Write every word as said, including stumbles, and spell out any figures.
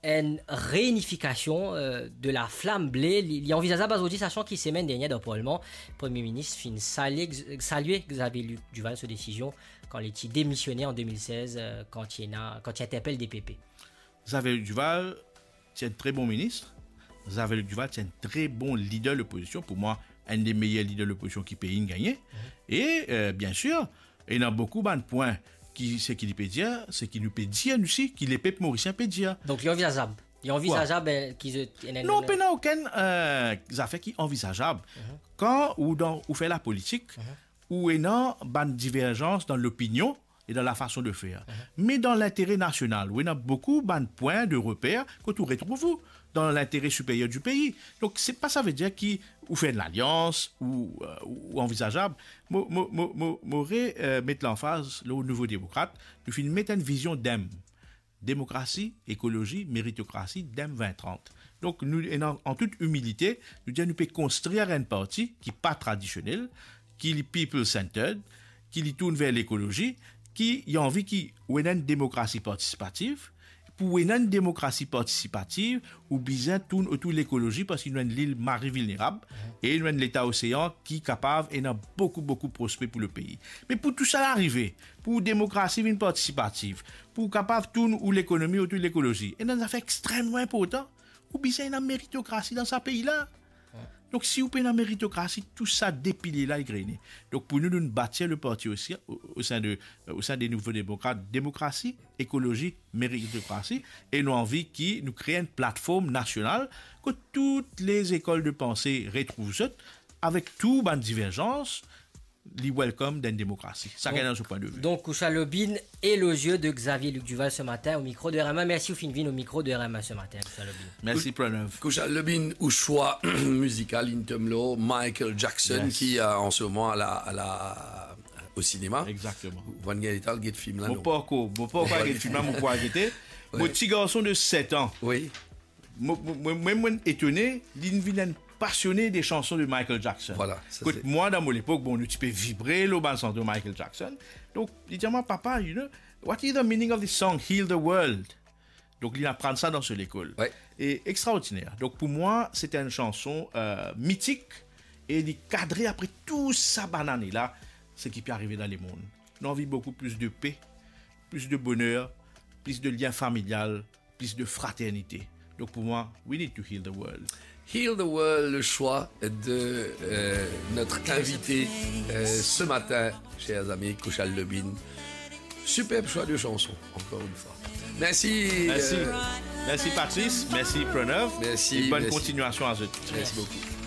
Enn reinifikasion, euh, de la flamme bleue, li, li anvizazab azordi, sasan ki semenn dernie dan Parlman, Premie Minis finn salie, salie Xavier Lu-, Duval so desizion kan li ti demisione an de mil sez, euh, kan ti ena, kan ti interpel D P P. Xavier Luc Duval, ti enn tre bon minis. Xavier Luc Duval, ti enn tre bon lider lopozision. Pou mwa, enn de meyer lider lopozision ki pei inn gagne. Mhm. E, euh, bien sir, ena boukou bann pwin ki, seki li pe dir, seki nou pe dir nou osi, ki lepep morisien pe dir. Donk, li anvizazab. Li anvizazab, eh, ki zot, eh, Non, pena okenn, euh, zafer ki anvizazab. Mhm. Kan ou dan, ou fer lapolitik, Mhm. ou ena bann diverzans dan lopinion e dan lafason de fer. Mhm. Me dan lintere nasional, ou ena boukou bann pwin de reper kot ou retrouv ou dan lintere siperyer di pei. Donk, se pa savedir ki ou fer enn lalians, ou, euh, ou anvizazab. Mo, mo, mo, mo, mo re, euh, met lanfaz lor Nouvo Demokrat, nou finn met enn vizion dem. Demokrasi, ekolozi, meritokrasi, dem vin trant. Donk, nou, ena, an tout imilite, nou dir nou pe konstrir enn parti ki pa tradisionel, ki li people centered, ki li tourn ver lekolozi, ki li anvi ki ou ena enn demokrasi partisipativ. Pou ou ena enn demokrasi partisipativ, ou bizin tourn otour lekolozi, parski nou enn lil mari vilnerab, Mhm. e nou enn leta osean ki kapav ena boukou, boukou prospe pou lepei. Me pou tousala arive, pou demokrasi vinn partisipativ, pou kapav tourn ou lekonomi otour lekolozi, ena enn zafer extrememan inportan, ou bizin ena meritokrasi dan sa pei la. Wi. Donk, si ou pena meritokrasi, tou sa de pilie la, li grene. Donk, pou nou, nou batir le parti osi, o, o sein de, o sein de Nouvo Demokrat, demokrasi, ekolozi, meritokrasi, e nou anvi ki nou kre enn platform nasional kot tout lezekol de panse retrouv zot, avek tou bann diverzans, li welcome dan demokrasi. Sakenn Donk, ena so pwin de vi. Donk, Koucha Lobine et les yeux de Xavier Luc Duval ce matin au micro de R M un. Mersi ou finn vinn au micro de R M un ce matin, Koucha Lobine. Mersi, Pranav. Koucha Lobine, ou swa mizikal, inn tonm lor Michael Jackson, Yes. ki, euh, an se moman, a la, a la, au cinéma. Exactement. Ou pa'nn gagn letan get fim la, Mo non? pankor, mo pankor get fim la, mo pou gete. Mo Ouais. ti garson de set an. Wi. Mo, mo, mo, mem mo etone, li vinn enn pasione de sanson de Michael Jackson. Voilà, sa Kot se mwa, dan mo lepok, bon, nou ti pe vibre lor bann sanson de Michael Jackson. Donk, li dir mwa, "Papa, you know, what is the meaning of this song, Heal the World?" Donk, li aprann sa dan so lekol. Wi. E extraordiner. Donk, pou mwa, se enn sanson, euh, mitik e li kadre apre tou sa bann ane la, seki pe arive dan lemond. Nou anvi boukou plis de pe, plis de boner, plis de lien familial, plis de fraternite. Donk, pou mwa, we need to heal the world. Heal the World, le choix de, euh, notre invité, euh, ce matin, chers amis, Koucha Lobine. Superbe choix de chanson, encore une fois. Merci, Mersi. euh, Mersi, Patrice. Mersi, Pranav. Merci, E bonn merci. kontinuasion a zot. Merci beaucoup.